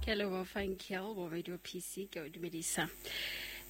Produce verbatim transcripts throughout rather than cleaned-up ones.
Ke a leboha Fankel bo Radio P C ke o dumedisa.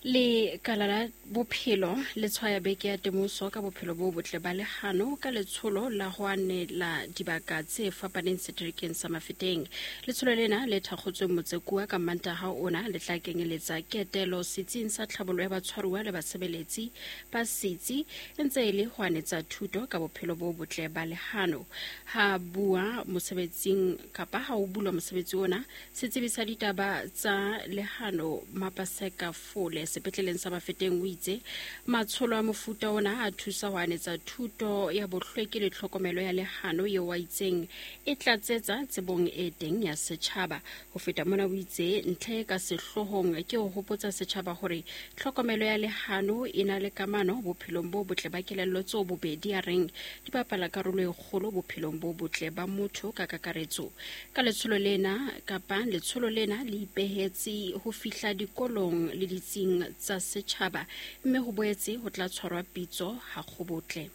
Lekala la bophelo le tshwaya beke ya temoso ka bophelo bo botle ba lehano ka letsholo la ho anela dibaka tse fapaneng seterekeng sa Mafeteng. Letsholo lena le thakgotsweng Motsekua ka Mantaha ona le tla kenyeletsa ketelo setsing sa tlhabollo ya batshwaruwa le basebeletsi ba setsi e ntse e le ho anetsa thuto ka bophelo bo botle ba lehano. Ha bua mosebetsing kapa ha o bulwa mosebetsi ona, setsebi sa ditaba tsa lehano Mapaseka Fole sepetleleng sa Mafeteng o itse matsholo a mofuta ona a thusa ho anetsa thuto ya bohlweki le tlhokomelo ya lehano eo a itseng e tlatsetsa tsebong e teng ya setjhaba. Ho feta mona o itse ntlha e ka sehloohong ke ho hopotsa setjhaba hore tlhokomelo ya lehano e na le kamano bophelong bo botle ba kelello tseo bobedi a reng di bapala karolo e kgolo bophelong bo botle ba motho ka kakaretso. Ka letsholo lena kapa letsholo lena le ipehetse ho fihla dikolong le ditsing tsa setjhaba mme ho boetse ho tla tshwarwa pitso ha kgobotle.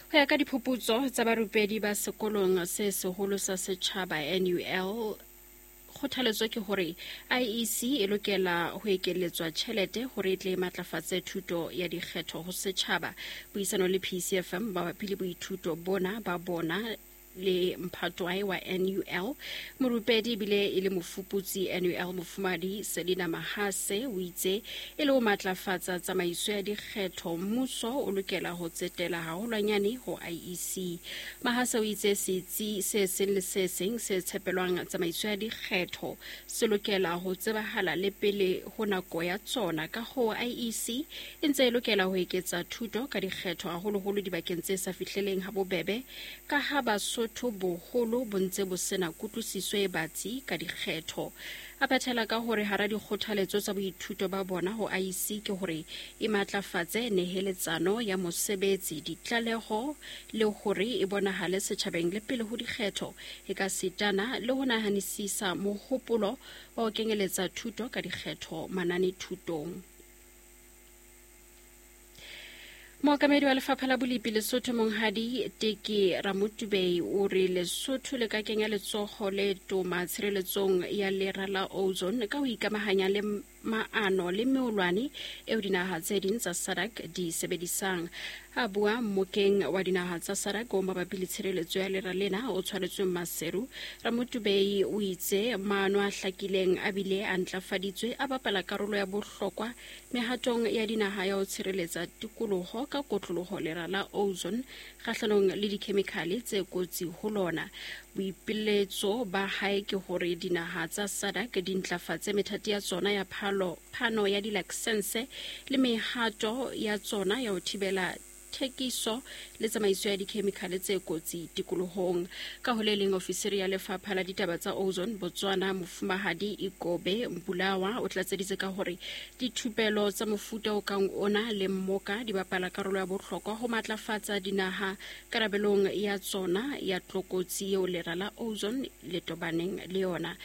Ho ya ka diphuputso tsa barupedi ba sekolong se seholo sa setjhaba N U L, kgothaletso ke hore I E C e lokela ho ekeletswa tjhelete hore e tle e matlafatse thuto ya dikgetho ho setjhaba. Puisano le P C F M mabapi le boithuto bona ba bona le mphatwae wa N U L, morupedi ebile e le mofuputsi N U L mofumadi Selina Mahase o itse e le ho matlafatsa tsamaiso ya dikgetho mmuso o lokela ho tsetela haholwanyane ho I E C. Mahase o itse setsi se seng le se seng se tshepelwang tsamaiso ya dikgetho se lokela ho tsebahala le pele ho nako ya tsona, ka hoo I E C e ntse e lokela ho eketsa thuto ka dikgetho haholoholo dibakeng tse sa fihleleng ha bobebe, ka ha Basotho boholo bo ntse bo sena kutlwisiso e batsi ka dikgetho. A phethela ka hore hara dikgothaletso tsa boithuto ba bona ho I E C ke hore e matlafatse neheletsano ya mosebetsi, ditlaleho le hore e bonahale setjhabeng le pele ho dikgetho, e ka sitana le ho nahanisisa mohopolo wa ho kenyeletsa thuto ka dikgetho mananethutong. Mookamedi wa lefapha la bolipi Lesotho Monghadi Teke Ramotubei o re Lesotho le ka kenya letsoho le toma tshireletsong ya lera la ozone ka ho ikamahanya le maano le meolwane eo dinaha tse ding tsa SADC di sebedisang. A bua mmokeng wa dinaha tsa SADC o mabapi le tshireletso ya lera lena o tshwaretsweng Maseru, Ramotubei o itse maano a hlakileng a bile a ntlafaditswe a bapala karolo ya bohlokwa mehatong ya dinaha ya ho tshireletsa tikoloho ka kotloloho lera la ozone kgahlanong le dikhemikhale tse kotsi ho lona. Boipiletso ba hae ke hore dinaha tsa SADC di ntlafatse methati ya tsona ya phalo phano ya dilaksense le mehato ya tsona ya ho thibela thekiso le tsamaiso ya dikhemikhale tse kotsi tikolohong. Ka ho le leng, ofisiri ya lefapha la ditaba tsa ozone Botswana mofumahadi Ikobe Mbulawa o tlatseditse ka hore dithupelo tsa mofuta o kang ona le mmoka di bapala karolo ya bohlokwa ho matlafatsa dinaha karabelong ya tsona ya tlokotsi eo lera la ozone le tobaneng le yona.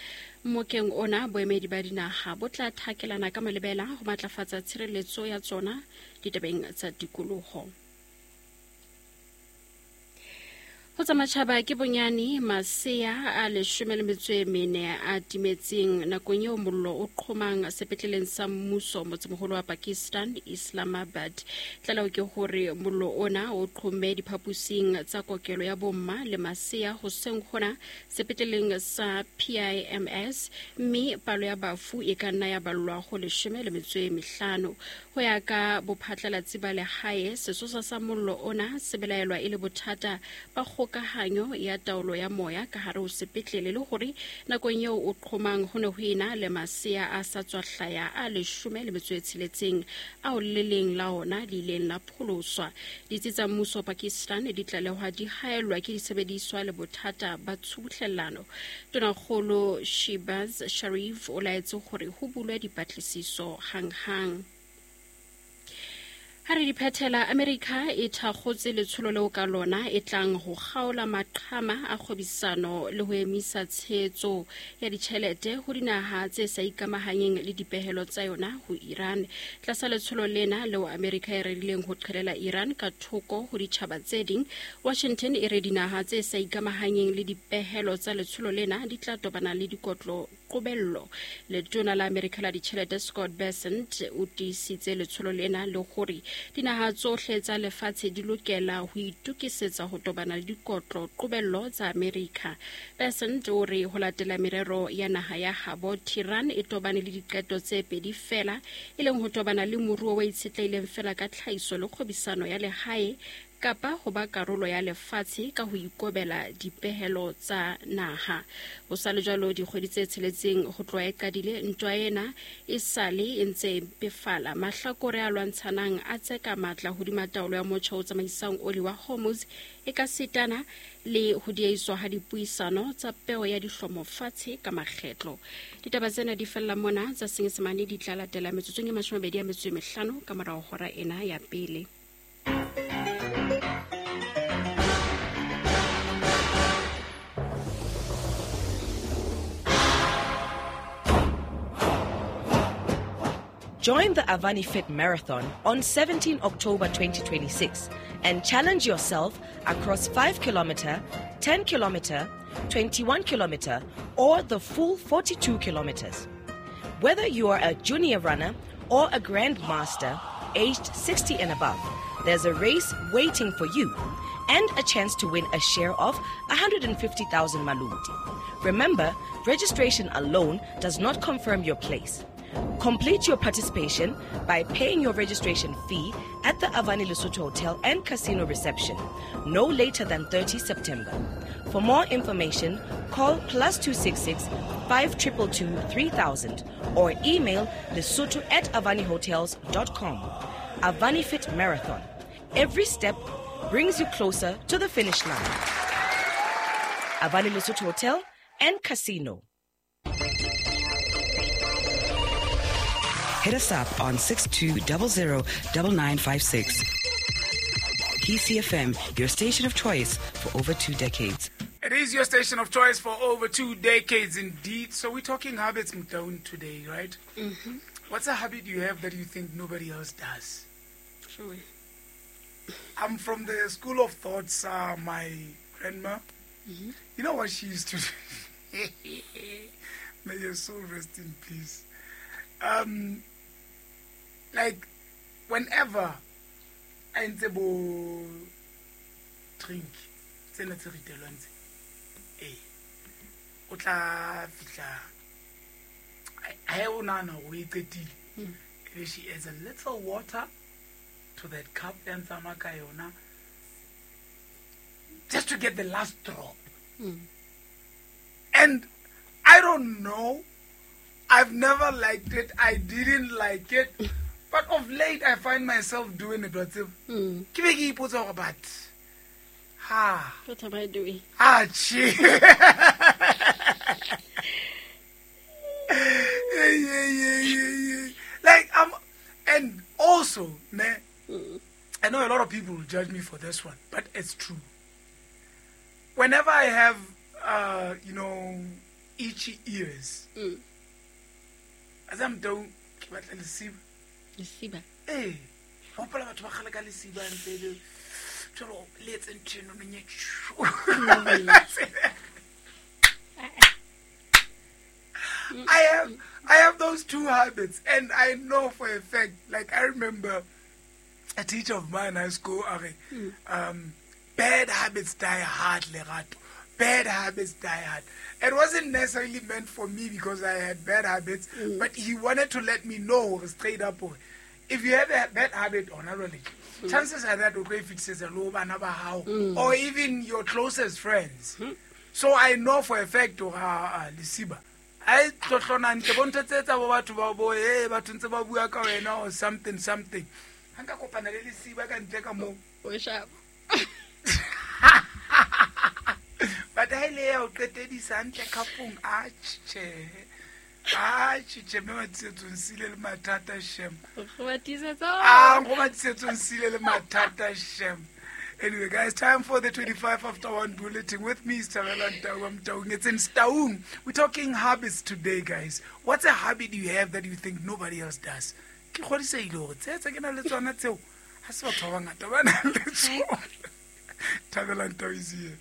Mmokeng ona boemedi ba dinaha bo tla thakelana ka malebela ho matlafatsa tshireletso ya tsona ditabeng tsa tikoloho. Ho tsa matjhaba ke bonyane masea a leshome le metso e mene a timetseng nakong eo mollo o qhomang sepetleleng sa mmuso motsemoholo wa Pakistan Islamabad. Tlaleho ke hore mollo ona o qhomme diphaposing tsa kokelo ya bomma le masea hoseng hona sepetleleng sa P I M S, mme palo ya bafu e ka nna ya ballwa ho leshome le metso e mehlano. Ho ya ka bophatlalatsi ba lehae, sesosa sa mollo ona se belaelwa e le bothata ba kgokahanyo ya taolo ya moya ka hare ho sepetlele, le hore nakong eo o qhomang ho ne ho ena le masea a sa tswa hlaya a leshome le metso e tsheletseng ao le leng la ona le ileng la pholoswa. Ditsi tsa mmuso Pakistan di tlalehwa di haellwa ke disebediswa le bothata ba tshubuhlellano. Tonakgolo Shehbaz Sharif o laetse hore ho bulwe dipatlisiso hanghang. Ha re di phethela, America e thakgotse letsholo leo ka lona e tlang ho kgaola maqhama a kgwebisano le ho emisa tshehetso ya ditjhelete ho dinaha tse sa ikamahanyeng le dipehelo tsa yona ho Iran. Tlasa letsholo lena leo America e rerileng ho qhelela Iran ka thoko ho ditjhaba tse ding, Washington e re dinaha tse sa ikamahanyeng le dipehelo tsa letsholo lena di tla tobana le dikotlo qobello. Letona la America la ditjhelete Scott Bessent o tiisitse letsholo lena le hore dinaha tsohle tsa lefatshe di lokela ho itokisetsa ho tobana le dikotlo qobello tsa America. Bessent o re ho latela merero ya naha ya habo, Tehran e tobane le diqeto tse pedi fela, e leng ho tobana le moruo o itshetlehileng fela ka tlhahiso le kgwebisano ya lehae kapa ho ba karolo ya lefatshe ka ho ikobela dipehelo tsa naha. Ho sa le jwalo, dikgwedi tse tsheletseng ho tloha e qadile ntwa ena e sale e ntse e mpefala. Mahlakore a lwantshanang a tseka matla hodima taolo ya motjha o tsamaisang oli wa Hormuz e ka sitana le ho diehiswa ha dipuisano tsa peo ya dihlomo fatshe ka makgetlo. Ditaba tsena di fella mona, tsa Senyesemane di tla latela metsotsong e mashome a mabedi a metso e mehlano ka morao hora ena ya pele. Join the Avani Fit Marathon on seventeenth October twenty twenty-six and challenge yourself across five kilometer, ten kilometer, twenty-one kilometer, or the full forty-two kilometers. Whether you are a junior runner or a grandmaster aged sixty and above, there's a race waiting for you and a chance to win a share of one hundred fifty thousand maluti. Remember, registration alone does not confirm your place. Complete your participation by paying your registration fee at the Avani Lesotho Hotel and Casino reception no later than thirtieth September. For more information, call plus two six six, five two two two, three thousand or email lesotho at avani hotels dot com. Avani Fit Marathon. Every step brings you closer to the finish line. Avani Lesotho Hotel and Casino. Hit us up on six two zero zero nine nine five six. P C F M, your station of choice for over two decades. It is your station of choice for over two decades indeed. So we're talking habits down today, right? Mm-hmm. What's a habit you have that you think nobody else does? Sure. I'm from the school of thoughts, uh, my grandma. Mm-hmm. You know what she used to do? May your soul rest in peace. Um, like, whenever I ntse bo drink, tsena tse ritelwang tse, eh, o tla fihla, ha o nahana hore o e qetile, ebe she adds a little water to that cup ya ntsamaya ka yona, just to get the last drop. Mm. And I don't know, I've never liked it. I didn't like it. But of late, I find myself doing it. But mm. Ha. What am I doing? Ah, gee. yeah, yeah, yeah, yeah, yeah. Like, I'm, and also, man, mm. I know a lot of people will judge me for this one, but it's true. Whenever I have, uh, you know, itchy ears, mm. as I'm doing, ke batla lesiba. Lesiba. Eh, hopola batho ba kgale ka lesiba ntse le tsholo le etse ntho eno nonye. I have I have those two habits, and I know for a fact, like I remember a teacher of mine in high school, mm. um, bad habits die hard, Lerato. Bad habits die hard. It wasn't necessarily meant for me because I had bad habits, mm. but he wanted to let me know straight up, if you have a bad habit or not really, mm. chances are that okay if it says mm. or even your closest friends. Mm. So I know for a fact, uh, uh, Lesiba, I tlotlona nte bontho tse tsa bo batho ba bo eh batho ntse ba bua ka wena or something something. Ha nka kopana le Lesiba ka ntle ka mo. O sharp. But ha ile ya o qetedisa ntle kapong a tjhe. Ah, tjhe mme Matiisetso nsile le mathata shem. Go Matiisetso. Ah, go Matiisetso nsile le mathata shem. Anyway, guys, time for the twenty-five after one bulletin. With me is Thabela Taung. Taung. It's in Taung. We're talking habits today, guys. What's a habit you have that you think nobody else does? Ke kgodisehile hore tse tse ke nang le tsona tseo, ha se batho ba bangata ba nang le tsona. Thabela Taung is here.